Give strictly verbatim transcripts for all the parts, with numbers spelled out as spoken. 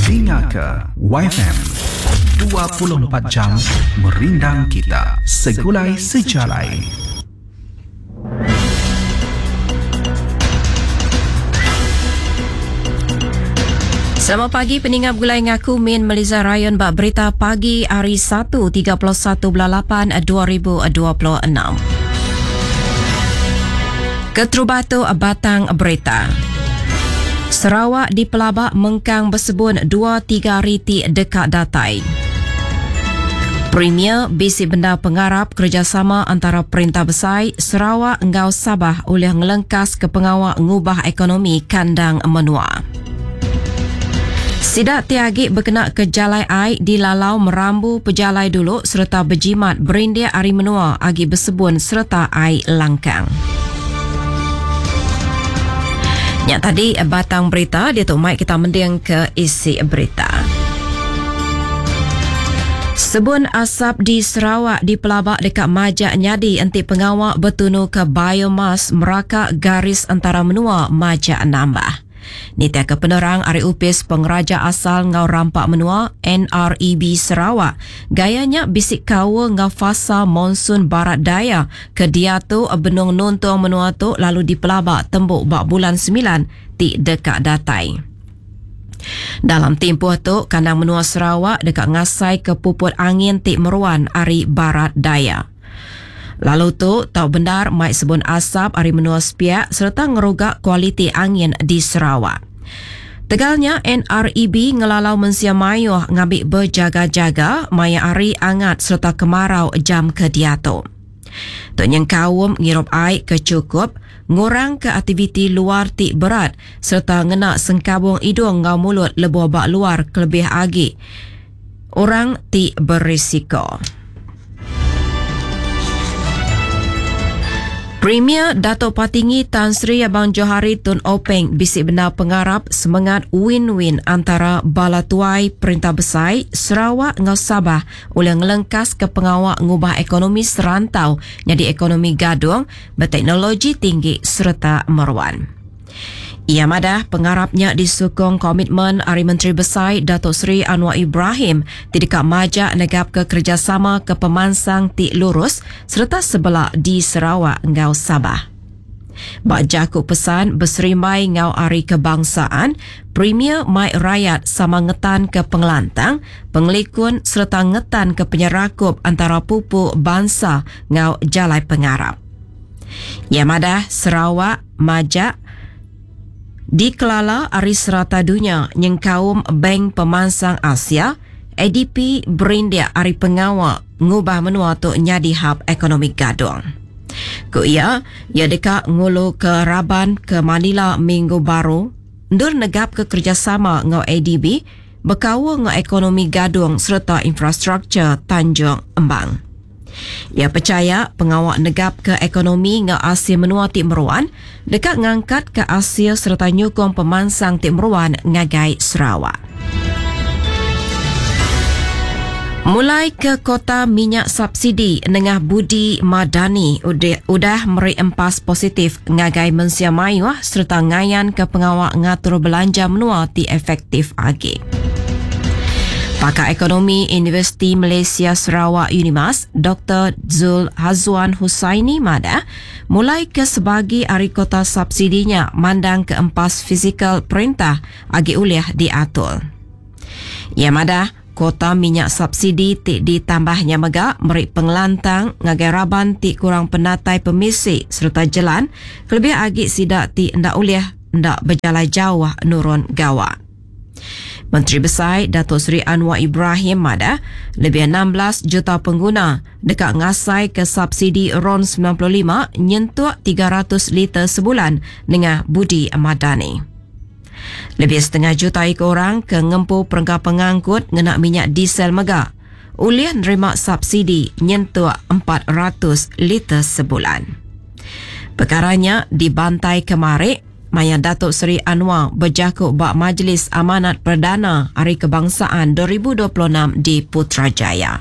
Dinga ke Y F M dua puluh empat jam merindang kita segulai sejalai. Selamat pagi peningat gulai ngaku Min Melisa Ryan bak berita pagi hari satu tiga puluh satu bulan lapan dua ribu dua puluh enam. Keterubatu batang berita. Sarawak dipelabak mengkang bersebun dua tiga hari ti dekat datai. Premier bisi benda pengarap kerjasama antara Perintah Besai Sarawak enggau Sabah oleh ngelengkas ke pengawak ngubah ekonomi kandang menua. Sidak tiagi berkena ke jalai ai di lalau merambu pejalai dulu serta berjimat berindik ari menua agi bersebun serta ai langkang. Nyak tadi batang berita dia tu mai kita mending ke isi berita. Sebun asap di Sarawak dipelabak dekat majak nyadi enti pengawak bertunu ke biomas meraka garis antara menua majak nambah. Nitia ke penerang ari Upis Pengeraja Asal ngau Rampak Menua N R E B Sarawak, gayanya bisik kawa ngau fasa monsun barat daya ke dia tu benung nuntung menua tu lalu dipelabak tembuk bak bulan sembilan ti dekat datai. Dalam tempoh tu, kandang menua Sarawak dekat ngasai ke puput angin ti meruan ari barat daya. Lalu tu, tau benar mai sebun asap ari menua sepiak serta ngerugak kualiti angin di Sarawak. Tegalnya N R E B ngelalau mensia mayuh ngambil berjaga-jaga maya ari angat serta kemarau jam ke diatu. Tok nyengkaum ngirup air ke cukup, ngurang ke aktiviti luar ti berat serta ngena sengkabung hidung ngau mulut lebuh bak luar kelebih agi orang ti berisiko. Premier Dato' Patinggi Tan Sri Abang Johari Tun Openg bisik benar pengarap semangat win-win antara bala tuai Perintah Besai Sarawak ngau Sabah oleh ngelengkas ke pengawak ngubah ekonomi serantau jadi ekonomi gadung berteknologi tinggi serta meruan. Ia madah pengarapnya disukong komitmen Ari Menteri Besai Datuk Seri Anwar Ibrahim tidak majak negap ke kerjasama ke pemansang ti lurus serta sebelah di Sarawak ngau Sabah. Bak jaku pesan berserimbai ngau Ari Kebangsaan, Premier mai rakyat sama ngetan ke pengelantang, pengelikun serta ngetan ke penyerakup antara pupu bangsa ngau jalai pengarap. Ia madah Sarawak majak dikelala ari serata dunia nyengkaum Bank Pemansang Asia, A D P berindik ari pengawak ngubah menua tu nyadi hub ekonomi gadung. Ku ia, ia dekat ngulu ke Raban ke Manila minggu baru, ndur negap ke kerjasama ngau A D B, berkawal ngau ekonomi gadung serta infrastruktur Tanjung Embang. Ia percaya pengawak negap ke ekonomi ngau Asia menua ti meruan, dekat ngangkat ke Asia serta nyukong pemansang ti meruan ngagai Sarawak. Mulai ke kota minyak subsidi nengah Budi Madani udah, udah meri empas positif ngagai mensia mayuh serta ngayan ke pengawak ngatur belanja menua ti efektif agi. Pakar Ekonomi Universiti Malaysia Sarawak Unimas, Doktor Zul Hazwan Husaini madah, mulai ke sebagi ari kota subsidinya mandang ke empas fizikal perintah agi uliah diatur. Ia madah, kota minyak subsidi ti ditambahnya mega meri pengelantang ngagai raban ti kurang penatai pemisi serta jalan kelebih agi sidak ti ndak uliah ndak berjalai jauh nurun gawak. Menteri Besai Datuk Seri Anwar Ibrahim madah lebih enam belas juta pengguna dekat ngasai ke subsidi RON sembilan puluh lima nyentuk tiga ratus liter sebulan dengan Budi Madani. Lebih setengah juta ekor orang ke ngempu perengka pengangkut ngena minyak diesel mega ulih nerima subsidi nyentuk empat ratus liter sebulan. Perkaranya dibantai kemarin Maya Datuk Seri Anwar berjakuk bak Majlis Amanat Perdana Hari Kebangsaan dua ribu dua puluh enam di Putrajaya.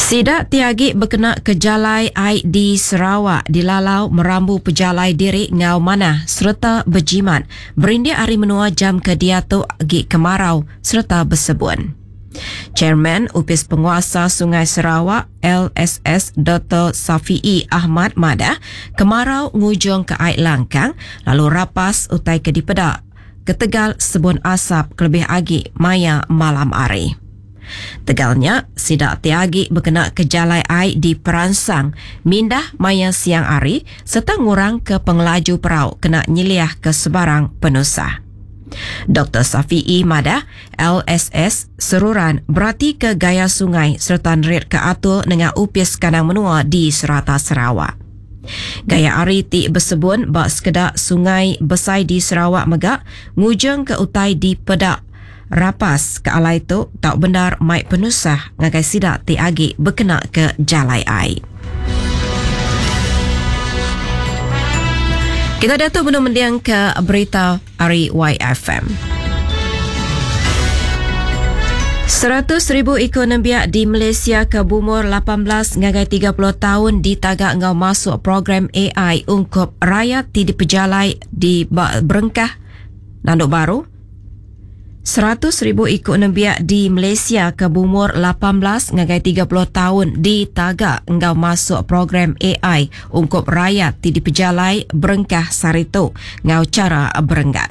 Sidak tiagi berkena ke jalai I D Sarawak dilalau merambu pejalai diri ngau manah serta berjimat berindik hari menua jam ke diatu gi kemarau serta bersebun. Chairman Upis Penguasa Sungai Sarawak L S S Doktor Safiee Ahmad Madah kemarau ngujung ke air langkang lalu rapas utai ke dipedak ketegal sebun asap kelebih agi maya malam hari. Tegalnya, sidak tiagi berkena ke jalai air di Peransang, mindah maya siang hari serta ngurang ke pengelaju perau kena nyeliah ke sebarang penusah. Doktor Safiee Madah, L S S seruran berarti ke gaya sungai serta nerit ke atur dengan upis kandang menua di serata Sarawak. Gaya ari ti bersebun bak sekedak sungai besai di Sarawak megak ngujung ke utai di pedak rapas ke alai tu tak benar mai penusah ngagai sidak ti agi berkena ke jalai ai. Kita dah tu belum mendiang ke berita ari Y F M. Seratus ribu ekonomi di Malaysia ke bumur lapan belas ngagai tiga puluh tahun ditagak ngau masuk program A I ungkup rakyat ti dipejalai di berengkah nanduk baru. Seratus ribu ekonomi di Malaysia ke bumur lapan belas ngagai tiga puluh tahun ditagak ngau masuk program A I ungkup rakyat ti dipejalai berengkah saritu ngau cara berenggat.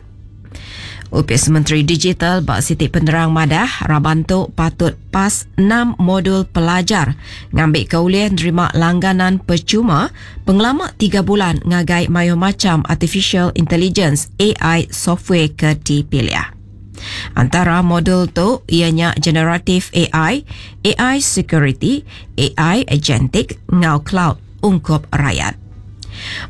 Upis Menteri Digital Bak Siti Penerang Madah, Rabantu patut pas enam modul pelajar ngambil keulih nerima langganan percuma pengelama tiga bulan ngagai mayo macam Artificial Intelligence A I software ke dipilih. Antara modul tu ianya Generative A I, A I Security, A I Agentic ngau Cloud ungkup rakyat.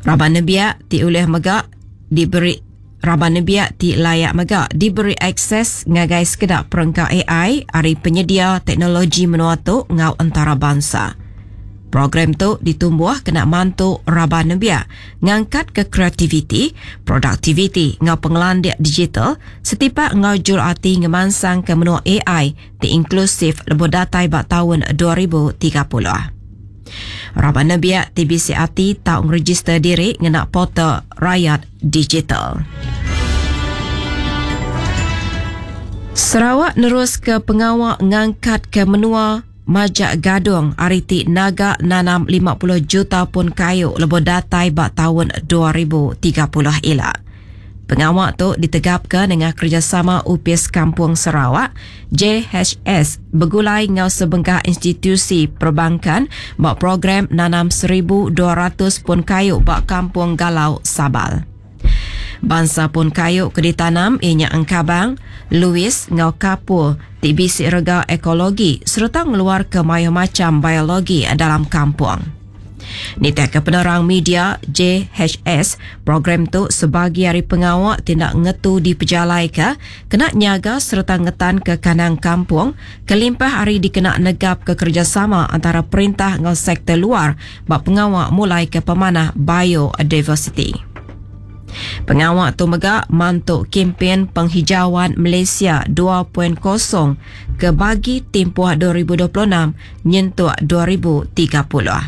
Raban nebiak ti ulih megak diberi Raban nebiak ti layak megak diberi akses ngagai sekedak perengka A I ari penyedia teknologi menua tu ngau antarabangsa. Program tu ditumbuh kena mantu raban nebiak ngangkat ke kreativiti, produktiviti ngau pengelandik digital setipak ngau jur ati ngemansang ke menua A I ti inklusif lebuh datai bak tahun dua ribu tiga puluh. Raban nebiak T B C A T tak ngeregister diri ngena portal Rakyat Digital. Sarawak nerus ke pengawak ngangkat ke menua Majak Gadung hari ti naga nanam lima puluh juta pun kayu lebuh datai bak tahun dua ribu tiga puluh ila. Pengawak tu ditegapkan dengan kerjasama Upis Kampung Sarawak, J H S, bergulai ngau sebengkah institusi perbankan bak program nanam seribu dua ratus pun kayu bak Kampung Galau Sabal. Bangsa pun kayu ke ditanam ianya Engkabang, Louis ngau Kapur, T B C rega ekologi serta ngeluar ke mayo macam biologi dalam kampung. Nitih ke penerang media J H S, program tu sebagi hari pengawak tindak ngetu di pejalai ke, kena nyaga serta ngetan ke kanang kampung, kelimpah hari dikena negap ke kerjasama antara perintah dengan sektor luar bak pengawak mulai ke pemanah biodiversity. Pengawak tu megak mantuk kempen penghijauan Malaysia dua titik kosong ke bagi tempoh dua ribu dua puluh enam nyentuk dua ribu tiga puluh.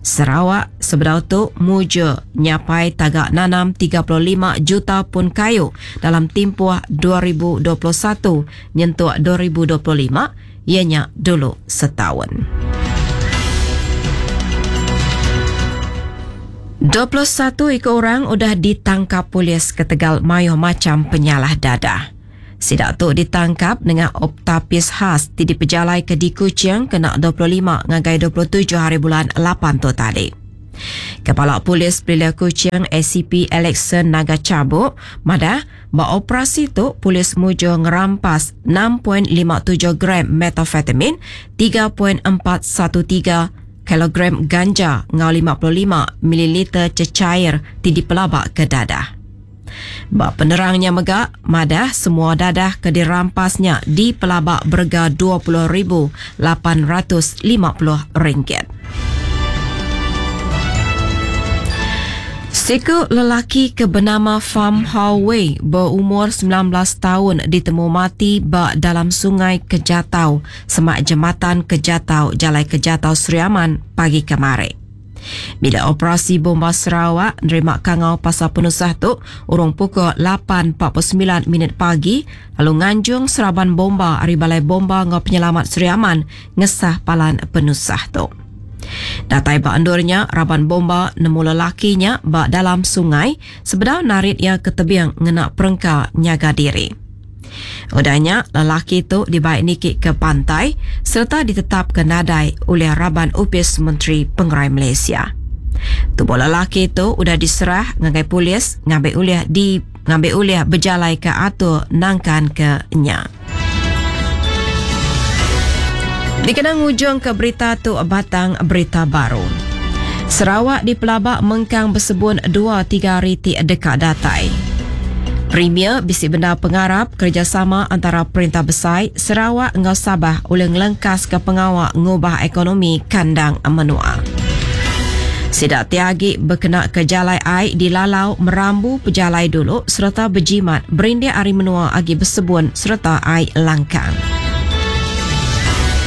Sarawak sebenar tu muja nyapai tagak nanam tiga puluh lima juta pun kayu dalam tempoh dua ribu dua puluh satu nyentuk dua ribu dua puluh lima ianya dulu setahun. dua puluh satu ekor orang udah ditangkap polis ketegal mayo macam penyalah dadah. Sidak tu ditangkap dengan oktapis khas ti dipejalai ke di Kuching kena dua puluh lima ngagai dua puluh tujuh hari bulan lapan tu tadi. Kepala Polis Belia Kuching A C P Alexon Naga Cabuk madah ba operasi tu polis mujo ngerampas enam titik lima tujuh gram metafetamin, tiga titik empat satu tiga kilogram ganja ngau lima puluh lima mililiter cecair ti dipelabak ke dadah. Ba penerangnya megak, madah semua dadah ke dirampasnya di pelabak berga dua puluh ribu lapan ratus lima puluh ringgit. Siku lelaki ke benama Pham Hao Wei berumur sembilan belas tahun ditemu mati ba dalam sungai Kejatau, semak jematan Kejatau, Jalai Kejatau Sri Aman pagi kemarin. Bila operasi bomba Sarawak nerima kangau pasal penusah tu urung pukul lapan empat puluh sembilan minit pagi lalu nganjung seraban bomba ari Balai Bomba ngau Penyelamat Sri Aman ngesah palan penusah tu. Datai ba endurnya, raban bomba nemu lelakinya ba dalam sungai sebedau narit ia ke tebing ngena perengka nyaga diri. Udahnya, lelaki tu dibaik niki ke pantai serta ditetap ke nadai oleh raban Upis Menteri Pengerai Malaysia. Tubuh lelaki tu udah diserah ngagai polis ngambil ulih di ngambil ulih berjalai ke atur nangkan ke nya. Dikenang ujung ke berita tu batang berita baru. Sarawak dipelabak mengkang bersebun dua tiga hari ti dekat datai. Premier bisi benda pengarap kerjasama antara Perintah Besai Sarawak ngau Sabah oleh ngelengkas ke pengawak ngubah ekonomi kandang menua. Sidak tiagi berkena ke jalai air dilalau merambu pejalai dulu serta berjimat berindik hari menua agi bersebun serta air langkang.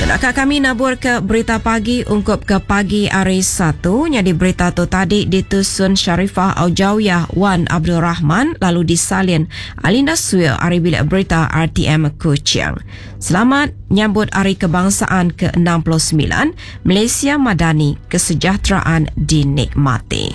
Tenaka kami nabur ke berita pagi ungkup ke pagi hari Satu. Jadi berita tu tadi ditusun Sharifah Aujawiyah Wan Abdul Rahman lalu disalin Alinda Suil hari bilik berita R T M Kuching. Selamat nyambut Hari Kebangsaan ke enam puluh sembilan Malaysia Madani, kesejahteraan dinikmati.